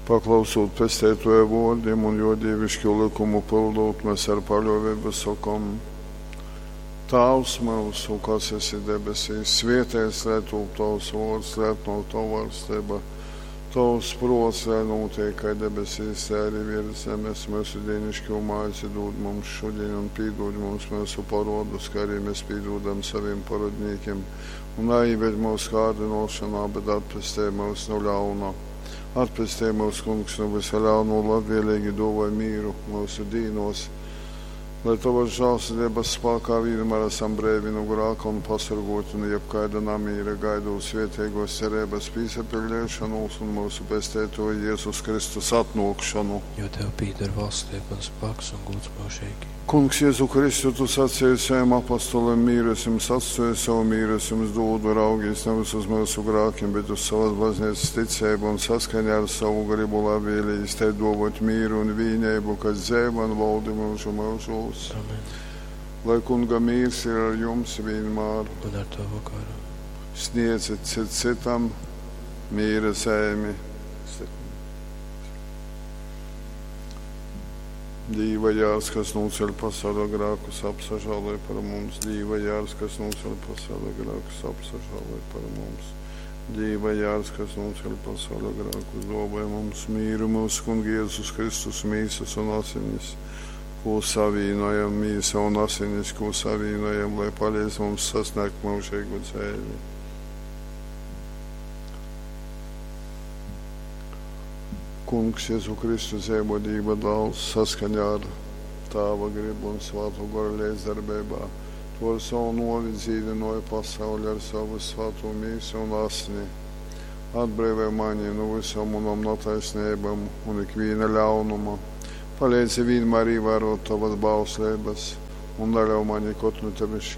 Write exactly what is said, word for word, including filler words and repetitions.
Paklausūt Pesteituoja vuordim un juo dīviškū lykumu pyldūt, mes ar paļuoveibu sokom: Tāvs myusu, kas esi debesīs, svieteits lai tūp tovs vuords, lai atnuok tova vaļsteiba. Tovs pruots lai nūteik kai debesīs, tai arī viers zemes. Myusu dīniškū maizi dūd mums šudiņ un pīdūd mums myusu poruodus, kai arī mes pīdūdam sovim porodnīkim. Un naīved mūsu kārdinošanā, bet atpestej mūs no ļauna. Atpestej mūs, Kungs, no visa ļauno, labvēlīgi dāvāj mīru mūsu dīnos, lai Tavas žēlsirdības spēkā vienmēr esam breivi no grāka un pasargoti no jebkaida namīra, gaidot svētīgos cerības pīsapildīšanos un mūsu Pesteitoja Jēzus Kristus atnākšanu. Jo tev pīder valstība un spēks un gods mūžīgi. Kungs, Jēzu Kristu, tu sacīji saviem apostoliem, mīru es jums atstāju, savu mīru es jums dodu, raugīs nevis uz mūsu grākiem, bet uz savas baznīcas ticību un saskaņā ar savu gribu labvēlīgi tai dovot mīru un vīnību, kas dzēva un valdi mūžu mūžos. Amen. Lai Kunga mīrs ir ar jums vienmēr, Un ar tavu garu. sniedzit cit citam mīra zemi. Dīva jārs, kas nūceļ pasaules grēkus, apsažāloj par mums. Dīva jārs, kas nūceļ pasaules grēkus, apsažāloj par mums. Dīva jārs, kas nūceļ pasaules grēkus, dāvāj mums mīru, mūsu Kunga Jēzus Kristus mīsas un asinis, ko savīnojam, mīsa un asinis, ko savīnojam, lai palīdz mums sasniegt mūžīgu dzīvi. Kungs, Jēzu Kristu, dzīvo Dieva dēls, saskaņā ar Tāva gribu un Svēto Goru līdzdarbībā. Tu ar savu novi dzīvināji pasauli ar savu svēto mīsu un asni. Atbrīvo mani no visām manām netaisnībām un ikviena ļaunuma. Palīdzi vienmēr ievērot tavas bauslības un neļauj mani kaut no tevis šķirt.